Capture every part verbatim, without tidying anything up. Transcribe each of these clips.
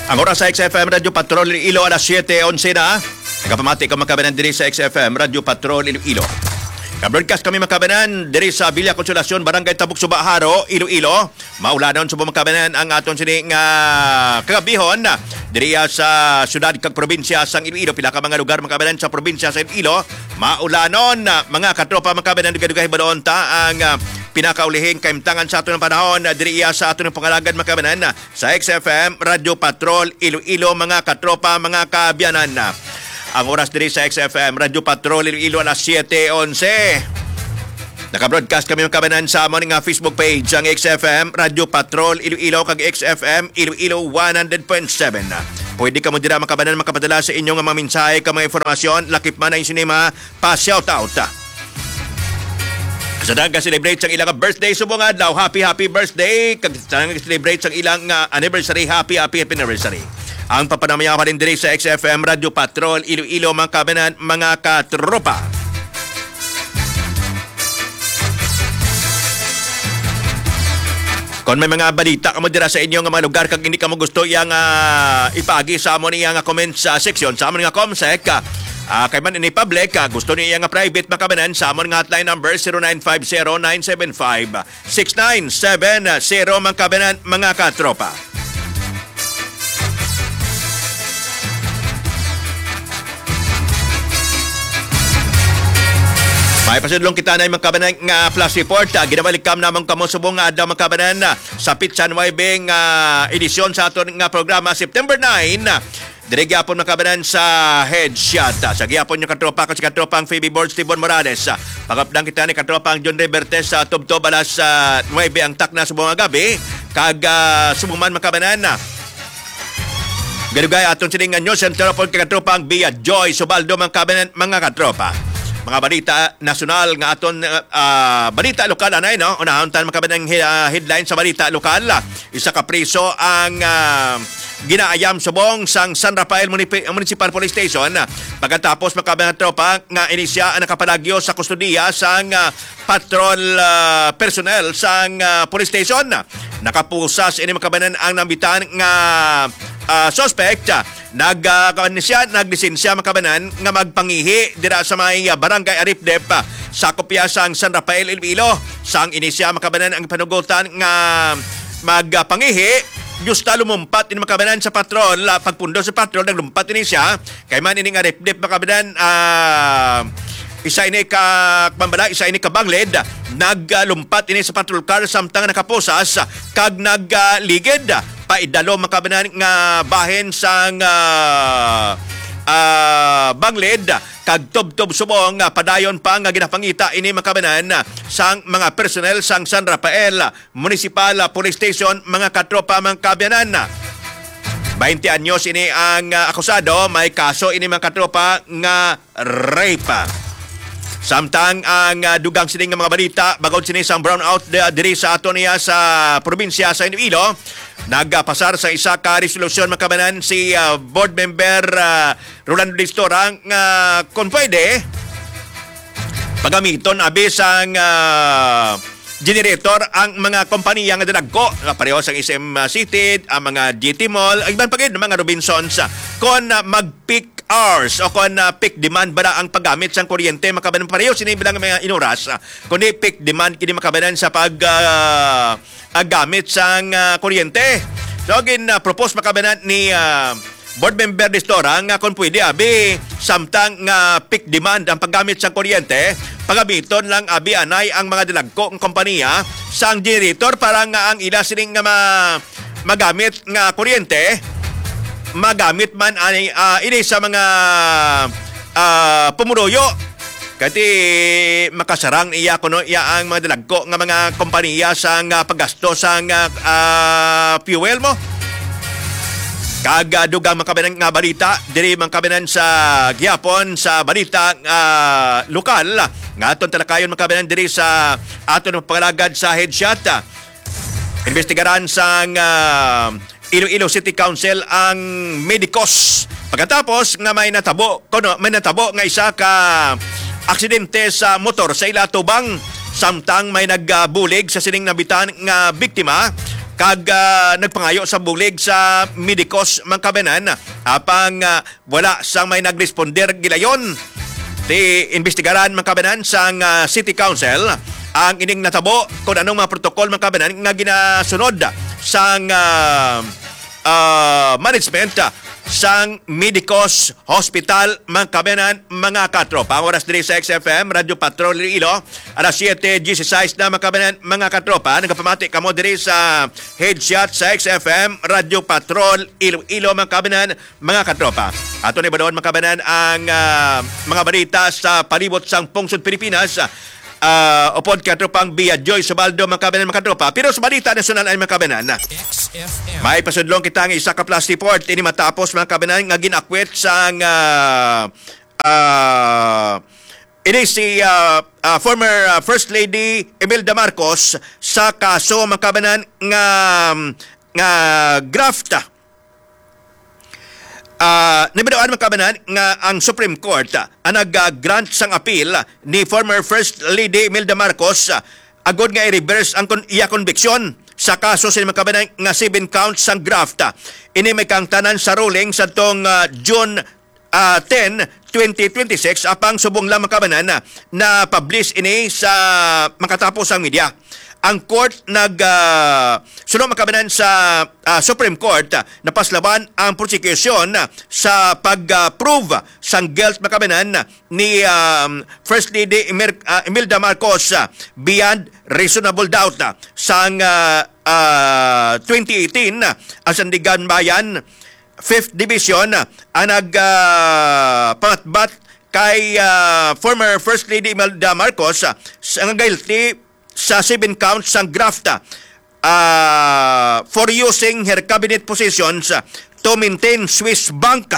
Ang oras sa X F M Radyo Patrol Iloilo, alas siyete onse na. Nagapamati ka, mga kabanan, diri sa X F M Radyo Patrol Iloilo. Nag-broadcast kami, mga kabanan, diri sa Villa Consolacion, Barangay Tabuk Suba, Jaro, Iloilo. Maulanon subong, mga kabanan, ang aton sini nga kagabihon diri sa syudad kag probinsya sang Iloilo. Pila ka mga lugar, mga kabanan, sa probinsya sa Iloilo maulanon, mga katropa, mga kabanan. Dugay-dugay, hibaluon ta ang, ah, pinakaulihing kahimtangan sa aton panahon diri sa aton pangalagad, mga kabanan, sa X F M Radyo Patrol Iloilo, mga katropa, mga kaabyanan. Ang oras diri sa X F M Radyo Patrol Iloilo, alas siyete onse. Naka-broadcast kami, mga kabanan, sa amon nga Facebook page, ang X F M Radyo Patrol Iloilo kag X F M Iloilo one hundred point seven. Pwede kamo dira, mga kabanan, makapadala sa inyo nga mga mensahe kag mga informasyon, lakip man ang sinima pa-shoutout. Sa tanan nag-celebrate sang ilang birthday subong adlaw, happy, happy birthday. Kag sa tanan nag-celebrate sang ilang, ah, anniversary, happy, happy, happy anniversary. Ang papanamayaw halin diri sa X F M Radyo Patrol Iloilo, mga kabanan, mga katropa. Kon may mga balita kamo dira sa inyo nga mga lugar kag hindi kamo gusto iyang, ah, ipaagi sa amon iya nga comments, ah, section sa amon nga Comsec, ah, ah, kay man ini public, ah, gusto niya nga private, mga kabanan, sa amon nga hotline number, zero nine five zero nine seven five six nine seven zero, mga kabanan, mga katropa. May pasudlong kita na, mga kabanan, nga flash report. Ah, ginabalikan namon kamo subong nga adlaw, mga kabanan, ah, sa pitsa nuebe nga edisyon sa aton nga programa, September nine. Diri gyapon, mga kabanan, sa headshot. Ah, sa gyapon yung katropa, kasi katropang Phoebe Borg, Steven Morales. Ah, pagapdang kita ni katropang John Revertes sa tubtob alas, ah, nuebe ang takna subong nga gabi. Kag, ah, subong man, mga kabanan, ah, Gadugay aton sining nga news center upod kay katropang Bia Joy Subaldo, mga kabanan, mga katropa. Mga balita nasyonal nga aton, ah, balita lokal anay, no? Unahon tan, mga kabanan, ang he-, ah, headline sa balita lokal. Isa ka priso ang, ah, ginaayam subong sang San Rafael Munipi-, Municipal Police Station, ah, pagkatapos, mga kabanan, tropa, nga inisya ang nakapalagyo sa kustodiya sang, ah, patrol, ah, personnel sang, ah, police station. Nakapusas ini, mga kabanan, ang nambitan nga, ah, suspect. Nag, ah, kuwan siya, naglisensya, mga kabanan, nga magpangihi dira sa may, ah, barangay Aripdep, ah, sa kopya sang San Rafael, Iloilo. Sang inisya, mga kabanan, ang panugutan nga magpangihi, gusta lumumpat ini, mga kabanan, sa patrol. Ah, pagpundo sa patrol, naglumpat ini siya. Kay man ini nga Aripdep, mga kabanan, ah, isa ini ka, kuwan bala, isa ini ka banglid, naglumpat ini sa patrol car samtang nakapusas kag nagligid. Paidalom, mga kabanan, nga bahin sang, ah, ah, banglid kag tubtob subong nga padayon pa nga ginapangita ini, mga kabanan, sang mga personnel sang San Rafael Municipal, ah, Police Station, mga katropa, mga kaabyanan. Baynte anyos ini ang, ah, akusado. May kaso ini, mga katropa, nga rape. Samtang ang, ah, dugang sini nga mga balita, bangod sini sang brownout di-, diri sa ato niya sa probinsya sa Iloilo, nagpasar sa isa ka resolusyon, mga kabanan, si, ah, board member, ah, Rolando Distora, nga kung pwede, pagamiton abi sang, ah, generator ang mga kompanya nga dalagko, nga pareho sang S M City, ang mga G T Mall, ang iban pa gid, mga Robinsons, kon, ah, mag-peak hours o kon, ah, peak demand ba na ang paggamit sang kuryente, mga kabanan, pareho sini bilang mga inuras, ah, kundi peak demand kini, mga kabanan, sa pag, ah, ah, gamit sang, ah, kuryente. So, gin, ah, propose, mga kabanan, ni, ah, Board Member Distora nga kung pwede, abi, samtang nga peak demand ang paggamit sang kuryente, pagamiton lang, abi, anay ang mga dalagko nga kompanya sang generator para nga ang ila sining nga ma-, magamit nga kuryente, magamit man ani, ah, ini sa mga, ah, pumuruyo. Kati makasarang iya kuno iya ang mga dalagko nga mga kompanya sang, ah, paggasto sang, ah, ah, fuel mo. Kag, ah, dugang, mga kabanan, nga balita, diri, mga kabanan, sa gihapon sa balita, ah, lokal, nga aton talakayon, mga kabanan, diri sa aton pangalagad sa headshot. Imbestigaran sang, ah, Iloilo City Council ang medikos pagkatapos nga may natabo, kuno, may natabo nga isa ka aksidente sa motor sa ila atubang, samtang may nagbulig sa sining nabitan nga biktima. kag, ah, nagpangayo sa bulig sa medikos, mga kabayanan, apang, ah, wala sang may nagresponder gilayon. Ti imbestigaran, mga kabayanan, sang, ah, City Council ang ining natabo, kung anong mga protocol, mga kabayanan, nga ginasunod sang, ah, ah, management, ah, sang Medicos Hospital, mga kabayanan, mga katropa. Ang oras diri sa X F M, Radyo Patrol Iloilo, alas siete dieciséis na, mga kabayanan, mga katropa. Nagapamati kamo diri sa headshot sa X F M, Radyo Patrol Iloilo, mga kabayanan, mga katropa. Ato ni balon, mga kabayanan, ang, ah, mga balita sa palibot sang pungsod Pilipinas. Ah, upod kay Tropang Bia Joy Subaldo, mga kabayanan, mga katropa. Pero sa balita nasyonal ay, mga kabayanan, X F M. May pasudlong kita nga isa ka flash report. Ini matapos, mga kabayanan, nga ginakwit sang, ah, ah, ini si, ah, ah, former, ah, First Lady Imelda Marcos sa kaso, mga kabayanan, nga, nga graft. Ah, nabidoan, mga kabayanan, nga ang Supreme Court, ah, ang nag-grant sang appeal ni former First Lady Imelda Marcos, ah, agod nga i-reverse ang kon-, iya konbiksyon sa kaso sa, mga kabayanan, nga seven counts sang graft. Ini may kaangtanan sa ruling sa tong, ah, June, ah, ten, twenty twenty-six, apang subong lang, mga kabayanan, na, na-publish ini sa makatapos ang media. Ang court nag, ah, suno, mga kabayanan, sa, ah, Supreme Court, ah, napaslawan ang prosecution, ah, sa pag, ah, prove sang guilt, mga kabayanan, ni, um, First Lady Imer-, ah, Imelda Marcos, ah, beyond reasonable doubt, ah, sang, ah, ah, twenty eighteen, ah, ang Sandiganbayan Fifth Division, ah, ang nag, ah, pangatbat kay, ah, former First Lady Imelda Marcos, ah, sa nga guilty sa seven counts sang graft, ah, ah, for using her cabinet positions, ah, to maintain Swiss bank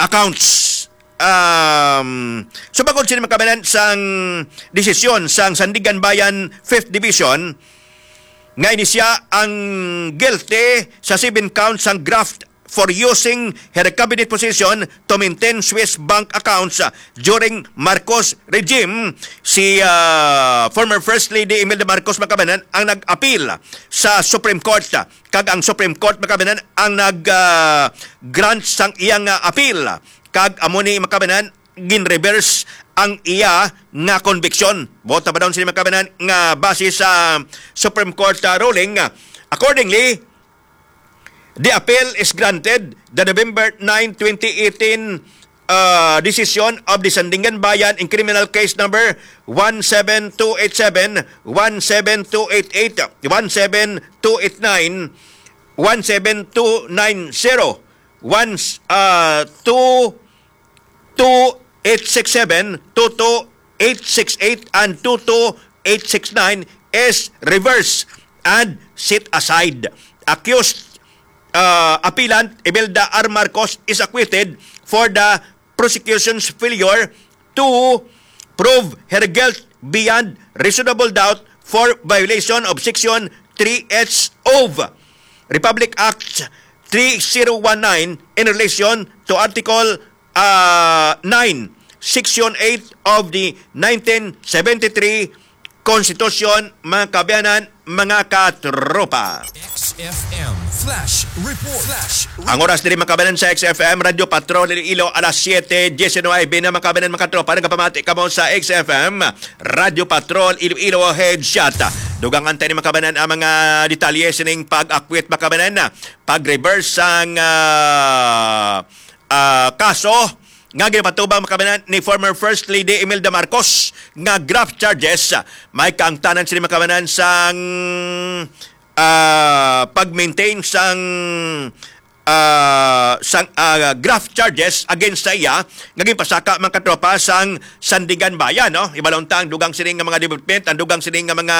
accounts. Um, so, bangod sini, mga kabayanan, sang desisyon sang Sandiganbayan Fifth Division, nga ini siya ang guilty sa seven counts sang graft for using her cabinet position to maintain Swiss bank accounts, ah, during Marcos regime. Si, ah, former First Lady Imelda Marcos, mga kabayanan, ang nag-appeal sa Supreme Court, ah, kag ang Supreme Court, mga kabayanan, ang nag, ah, grant sang iyang, ah, appeal, kag amo ni, mga kabayanan, gin-reverse ang iya nga konbiksyon. Buot na ba daw sini, mga kabayanan, nga base sa Supreme Court, ah, ruling? Accordingly, the appeal is granted. The November nine, twenty eighteen, uh, decision of the Sandiganbayan in criminal case number one seven two eight seven, one seven two eight eight, one seven two eight nine, one seven two nine zero, one, uh, two two eight six seven, two two eight six eight, and two two eight six nine is reversed and set aside. Accused, uh, appellant Imelda R. Marcos is acquitted for the prosecution's failure to prove her guilt beyond reasonable doubt for violation of Section three H of Republic Act three zero one nine in relation to Article, ah, nine, Section eight of the nineteen seventy-three Constitution, mga kaabyanan, mga katropa. X F M Flash Report. Flash Report. Ang oras diri, mga kaabyanan, sa X F M Radyo Patrol Iloilo, alas siete diecinuebe na, mga kaabyanan, mga katropa. Nagapamati kamo sa X F M Radyo Patrol Iloilo Headshot. Dugang antayi ni, mga kaabyanan, ang mga detalye sining pag-akwit, mga kaabyanan, pag-reverse sang, ah, ah, kaso nga ginapatubang, mga kaabyanan, ni former First Lady Imelda Marcos nga graft charges. May kaangtanan sini, mga kaabyanan, sang, ah, pag-maintain sang, ah, sang, ah, graft charges against sa iya nga ginpasaka, mga katropa, sang Sandiganbayan, no? Ibalon ta ang dugang sini nga mga development, ang dugang sini nga mga,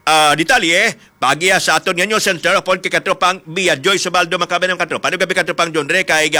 ah, detalye, paagi sa aton nga news center, upod kay katropang Bia Joy Subaldo, mga kaabyanan, mga katropa. Ano gabi, katropang John Ray, kay